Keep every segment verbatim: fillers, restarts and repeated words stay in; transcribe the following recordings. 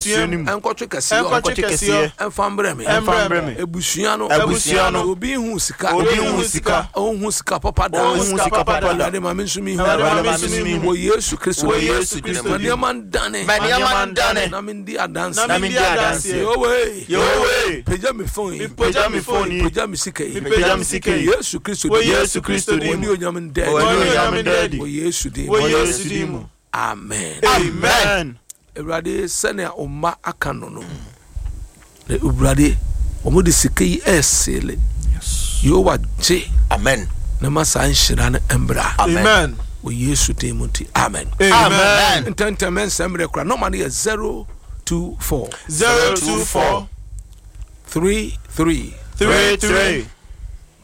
Ɛnkɔtwe kɛseɛ. Ɛnkɔtwe kɛseɛ. Ɛmfa mbrɛ me. Ɛmfa mbrɛ me. Ebusua no. Abusua no. Obi hu sika. Obi hu sika. Ɔnhu sika papa da. Ɔnhu sika papa da. Awurade, ma me nso mi hu. Awurade, ma me nso mi hu. Wɔ Yesu Kristo. Wɔ Yesu Kristo Ma din. nneɛma ndane. Ma nneɛma ndane. Na mendi adanse. Na mendi adanseɛ. Yehowa. Yehowa. Pagya me phone yi. Pagya me phone yi. Pagya me sika yi. Pagya me sika yi. Yesu Kristo Wɔ din. Yesu Kristo din Wɔ mu. ne onyam ndɛ. Wɔ ne onyam ndɛ adi. Wɔ Yesu din Wɔ mu. Yesu din mu. Amen. Amen. Awurade, sɛnea ɔma aka no no na Awurade wɔn de sika yi ɛɛseele. Yehowa, gye Amen. na ma saa nhyira no mbra. Amen. Wɔ Yesu din mu nti, amen. Amen. Ntɛntɛm ɛnsɛm mmerɛ kora, number no yɛ zero two four Zero two four three three three three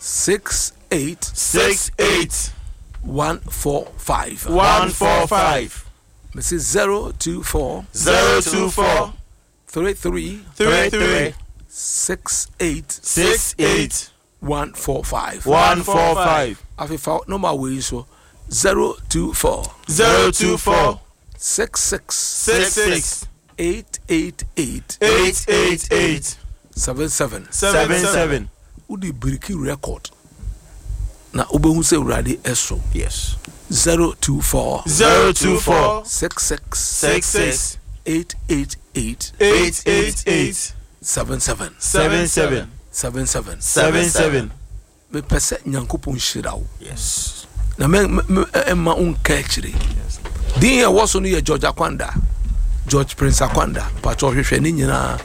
six eight six eight one four five. one four five. Mesi zero two four Zero two four three three three three six eight six eight one four five. one four five. Afei fa number wei so, zero two four Zero two four six six six six eight eight eight eight eight eight seven seven. seven seven. Wode break record na wobɛhu sɛ Awurade ɛso. Yes. zero two four Zero two four six six six six eight eight eight eight eight eight seven seven. seven seven. seven seven. Seven seven. Mepɛ sɛ Nyankopɔn hyira wo Yes. na mɛ mɛ ɛma wo nka akyire. Din a ɛwɔ so no yɛ George Akwanda, George Prince Akwanda. Mpakyɛ, ɔhwehwɛ ne nyinaa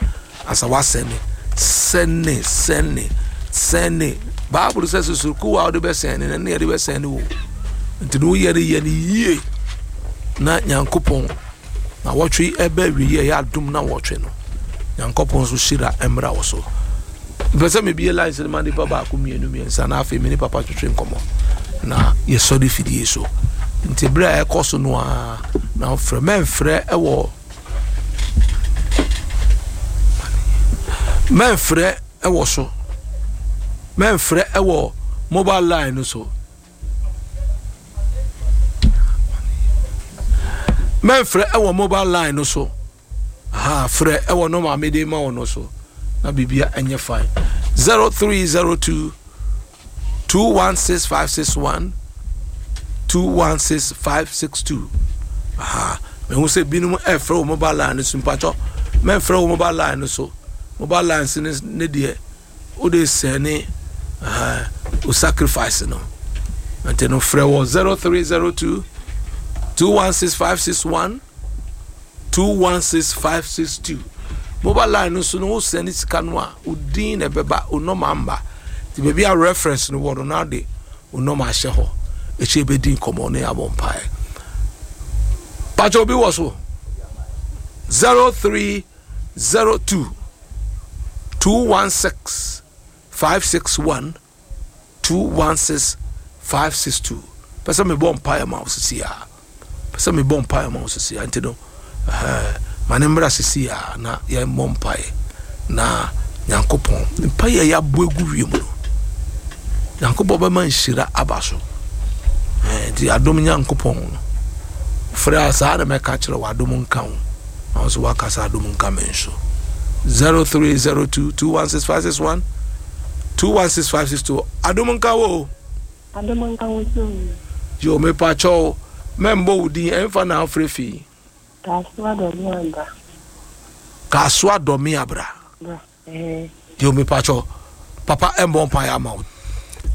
asa wasɛne sɛne sɛne sɛne. Bible sɛ susuruku a wode bɛsɛne no ne yɛde bɛsɛne wo, nti ne woyɛ no yɛ no yie na Nyankopɔn na wɔtwe ɛbɛ awie ɛyɛ adom na wɔtwe no Nyankopɔn nso hyira mmra wo so. Mpɛ sɛ mebie lines no ma nipa baako, mmienu, mmiɛnsa, na afei me ne papa twetwe nkɔmmɔ na yɛsɔre fidie so. Nti berɛ a ɛkɔ so no a na wofrɛ, mɛmfrɛ ɛwɔ mɛmfrɛ ɛwɔ so, mɛmfrɛ ɛwɔ mobile line no so, mɛmfrɛ ɛwɔ mobile line no so. Ha frɛ ɛwɔ number mede ma wɔ no so na biribia ɛnyɛ fine. zero three zero two two one six five six one, two one six five six two. Aha, mehu sɛ binom ɛfrɛ wɔ mobile line no so. Mpakyɛ, mɛmfrɛ wɔ mobile line no so. Mobile line so ne ne deɛ wode sɛne o sacrifice no, nti no frɛ wɔ zero three zero two two one six five six one, two one six five six two. Mobile line no so no, wosɛne sika no a, wo din na ɛbɛba, wo number mba. Nti baabi a reference no wɔ no, na de wo number ahyɛ hɔ. Ɛkyɛ bɛdi nkɔmmɔ ne abɔ mpaeɛ. Pakyɛ, obi wɔ so? zero three zero two two one six five six one, two one six five six two. Pɛ sɛ mebɔ mpaeɛ ma wo sisi a, pɛ sɛ mebɔ mpaeɛ ma wo sisi a, nti no ɛhɛn, ma ne mmra sisi a na yɛmmɔ mpaeɛ na Nyankopɔn mpaeɛ a yɛabɔ agu wiem no, Nyankopɔn bɛma nhyira aba so. Ɛn, nti adom Nyankopɔn no frɛ a, saa na mɛka kyerɛ wɔ. Adom nka wo na wo nso woaka sɛ adom nka me nso. zero three zero two two one six five six one, two one six five six two. Adom nka wo o. Adom nka wo so. Yo, mepakyɛw, mɛmbɔ wo din. Ɛmfa na afrɛ fii? Kasoa Dɔme Aba. Kasoa Dɔme Abra. Bra. Eh. Yo, mepakyɛw, papa ɛmbɔ mpaeɛ ama wo.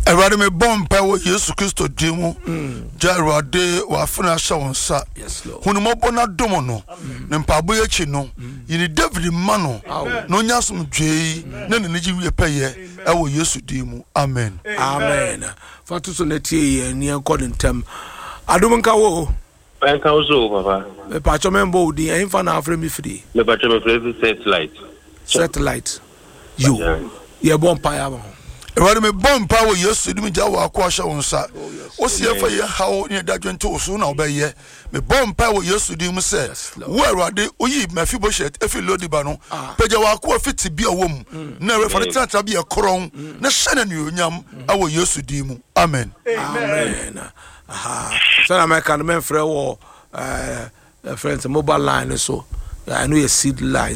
Awurade, mebɔ mpae wɔ Yesu Kristo din mu. Gya Awurade wafene ahyɛ wo nsa. Yes, Lord. Hunumɔbɔ no adom no ne mpaebɔ yi akyi no, yini David ma no na ɔnya asomdwee yi na n'anigye wie pɛyɛ ɛwɔ Yesu din mu, amen. Amen. Fa to so na tie yɛn ni ɛnkɔ ne ntɛm. Adom nka wo o. Ɛnka wo so o, papa. Mepakyɛw, mɛmbɔ wo din. Ɛmfa na afrɛ me firi? Mepakyɛ, mefrɛ fi Satellite. Satellite. Yo, yɛbɔ mpaeɛ ama ho. Awurade, mebɔ mpae wɔ Yesu din mu. Gya wɔ ako ahyɛ wo nsa. Wosi yɛfa yɛ haw ne yɛda dwente wo so na wobɛyɛ. Mebɔ mpae wɔ Yesu din mu sɛ Yes, Lord. wo Awurade woyi Mephibosheth efi Lodiba no, pagya wɔ ako afi te bi a wɔ mu na Awurade fa ne tenatena bi a ɛkorɔn na hyɛ no anuonyam ɛwɔ Yesu din mu, amen. Amen. Aha, sɛna mɛka no, mɛmfrɛ wɔ ɛɛ friends mobile line no so. Ɛno yɛ seed line.